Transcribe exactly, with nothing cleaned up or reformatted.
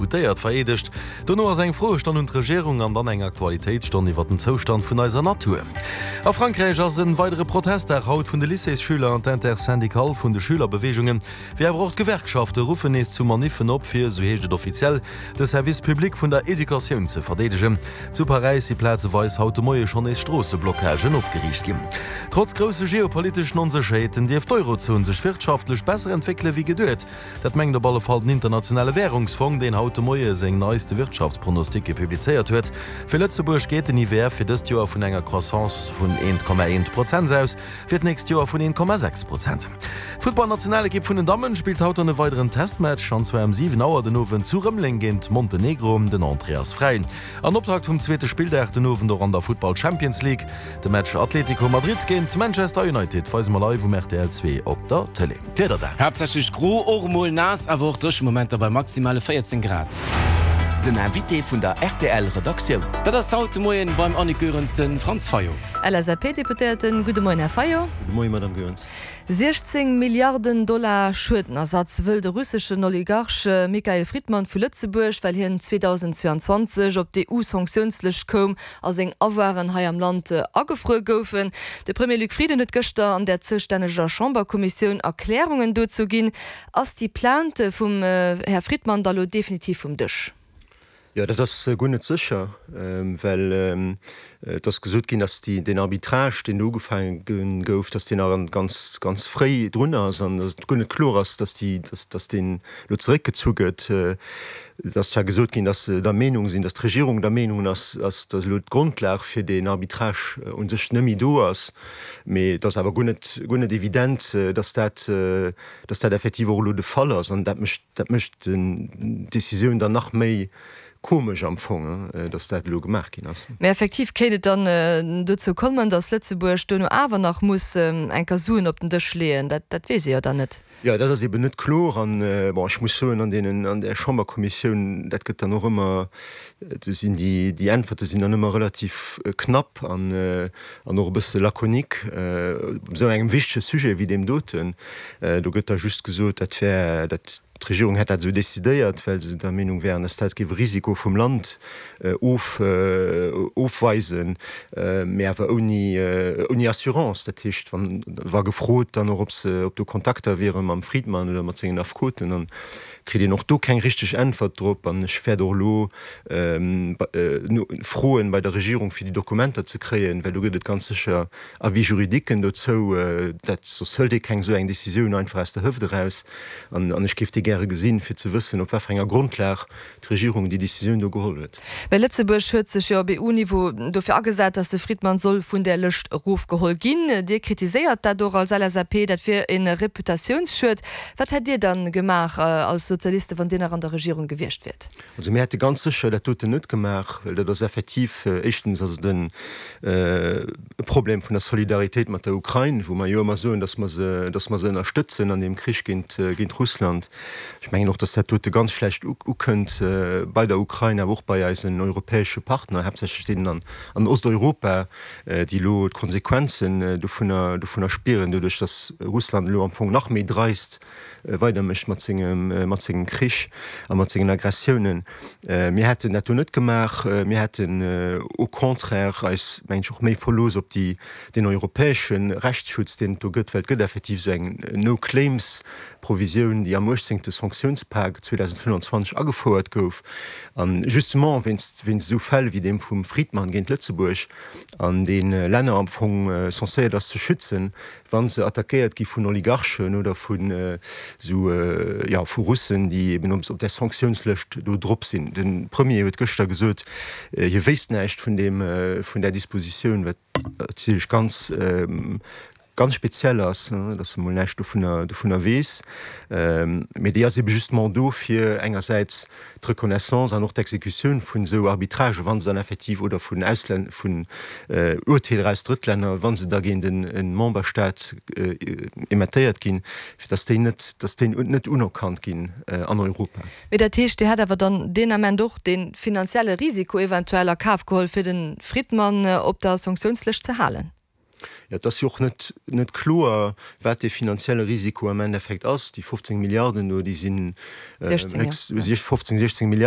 Deputéiert vereedegt. Dono ass eng Froestonn un d'Regierung an dann eng Aktualitéitsstonn iwwer den Zoustand vun eiser Natur. A Frankräich ass e weidere Protestdag haut vun de Lycéesschüler an d'Intersyndicale vun de Schülerbeweegungen, wéi awer och d'Gewerkschafte ruffen nees zu Maniffen op, fir, sou heescht et offiziell, de Service public vun der Educatioun ze verdeedegen. Zu Paräis si plazeweis haut de Moie schonn nees Stroosseblockagen opgeriicht ginn. Trotz grousse geopoliteschen Onsécherheeten dierft d'Eurozon sech wirtschaftlech besser entwéckele wéi geduet. Dat mengt op alle Fall den Internationale Wärungsfong, deen haut de Moie seng neiste Wirtschaftspronosticke publizéiert huet. Fir Lëtzebuerg geet den I W F fir dëst Joer vun enger Croissance vun eent Komma eent Prozent aus, fir d'nächst Joer vun eent Komma sechs Prozent. D'Futtballnationalekipp vun den Dammen spillt haut dann e weideren Testmatch, an zwar um siwen Auer den Owend zu Rëmeleng géint Montenegro. Den Entrée ass fräi. An Optakt vum zweete Spilldag den Owend och an der Futtball Champions League, de Match Atletico Madrid géint Manchester United weise mer live um R T L zwee op der Tëlee. D'Wieder dann. Haaptsächlech gro, och mol naass, awer och dréche Momenter bei maximale véierzéng Grad. Den Invité vun der R T L Redaktioun. Dat ass haut de Moien beim Annick Goerens de Franz Fayot. L S A P-Deputéierten, gudde Moien, Här Fayot. Gudde Moien, Madame Goerens. siechzéng Milliarden Dollar Schuedenersatz wëll de russeschen Oligarch Michael Fridman vu Lëtzebuerg, well hien zweedausendzweeanzwanzeg op d'E U-Sanktiounslëscht koum a seng Avoiren hei am Land agefruer goufen. De Premier Luc Frieden huet gëschter an der zoustänneger Chamberkommissioun Erklärungen dozou ginn. Ass déi Plainte vum Här Fridman da lo definitiv vum Dësch? Jo, dat ass guer net sécher, well et ass gesot ginn, dass déi, den Arbitrage, deen ugefaange gouf, dass deen nach ganz, ganz fréi drun ass an dass et guer net kloer ass, dass déi, dass, dass deen lo zeréckgezu gëtt. Et ass zwar gesot ginn, dass se der Meenung sinn, dass d'Regierung der Meenung ass, dass, dass elo d'Grondlag fir deen Arbitrage u sech net méi do ass, mee et ass awer guer net, guer net evident, dass dat, dass dat effektiv och elo de Fall ass an dat mécht, dat mécht d'Decisioun dann nach méi komesch am Fong, dass dat elo gemaach ginn ass. Mee effektiv kéint et dann dozou kommen, dass Lëtzebuerg duerno awer nach muss eng Kéier Suen op den Dësch leeën. Dat, dat weess ee jo dann net. Jo, dat ass eben net kloer an bon, ech muss soen, an deenen, an der Chamberkommissioun, dat gëtt dann och ëmmer, do sinn déi, déi Äntwerte sinn dann ëmmer relativ knapp an an och e bësse laconique op esou engem wichtege Sujet wéi deem doten. Do gëtt da just gesot, dat wär, dat d'Regierung hätt dat esou decidéiert, well se der Meenung wären, dass dat géif e Risiko vum Land of ofweisen, mee awer ouni ouni Assurance. Dat heescht, wann wa gefrot dann och, ob se, ob do Kontakter wiere mam Fridman oder mat sengen Affekoten, dann kritt een och do keng richteg Äntwert drop. An ech wäert och elo froen bei der Regierung, fir déi Dokumenter ze kréien, well do gëtt et ganz sécher Avis juridiquen dozou. Dat soss hëlt ee keng esou eng Decisioun einfach aus der Hëft eraus. An an ech géif déi gäre gesinn, fir ze wëssen, op wat fir enger Grondlag d'Regierung déi Decisioun do geholl huet. Well Lëtzebuerg huet sech jo op E U-Niveau dofir agesat, dass de Fridman soll vun där Lëscht erofgeholl ginn. Dir kritiséiert dat och als L S A P, dat wier e Reputatiounsschued. Wat hätt Dir dann gemaach als Sozialiste, wann Dir nach an der Regierung gewiescht wiert? Also mir hätte ganz sécher dat doten net gemaach, well dat ass effektiv, éischtens ass et en e Problem vun der Solidaritéit mat der Ukrain, wou mer jo ëmmer soen, dass mer se, dass mer se ënnerstëtzen an deem Krich géint, géint Russland. Ech mengen och, dass dat dote ganz schlecht ukënnt bei der Ukrain, awer och bei eisen europäesche Partner, haaptsächlech deenen an, an Osteuropa, déi elo d'Konsequenzen dovunner, dovunner spieren, doduerch dass Russland elo am Fong nach méi dreist weidermécht mat sengem, mat sengem Krich a mat sengen Aggressiounen. Mir hätten dat do net gemaach. Mir hätten au contraire eis, mengen ech, och méi verlooss op déi, den europäesche Rechtsschutz, deen et do gëtt, well et gëtt effektiv esou eng No-Claims-Provisioun, déi am uechtzéngte Sanktiounspak zweedausendfënnfanzwanzeg agefouert gouf, an justement wéinst, wéinst esou Fäll wéi deem vum Fridman géint Lëtzebuerg, an dee Länner am Fong censéiert ass ze schützen, wa se attackéiert gi vun Oligarchen oder vun esou, jo, vu Russen, déi eben op där Sanktiounslëscht do drop sinn. De Premier huet gëschter gesot, hie wéisst näischt vun deem, vun där Dispositioun, wat natierlech ganz, ganz speziell ass, dass e mol näischt dovunner, dovunner weess. Mee déi ass ebe justement do, fir engersäits d'Reconnaissance an och d'Exekutioun vun esou Arbitragen, wa se dann effektiv, oder vun Auslän-, vun Urteeler aus Drëttlänner, wa se da géint e Memberstaat emettéiert ginn, fir dass déi net, dass déi net unerkannt ginn an Europa. Mee dat heescht, Dir hätt awer dann deen Ament och dee finanzielle Risiko eventuell a Kaf geholl, fir de Fridman op der Sanktiounslëscht ze halen? Jo, et ass jo och net, net kloer, wat dee finanzielle Risiko am Endeffekt ass. Déi fofzéng Milliarden do, déi sinn fofzéng, siechzéng Milliarden.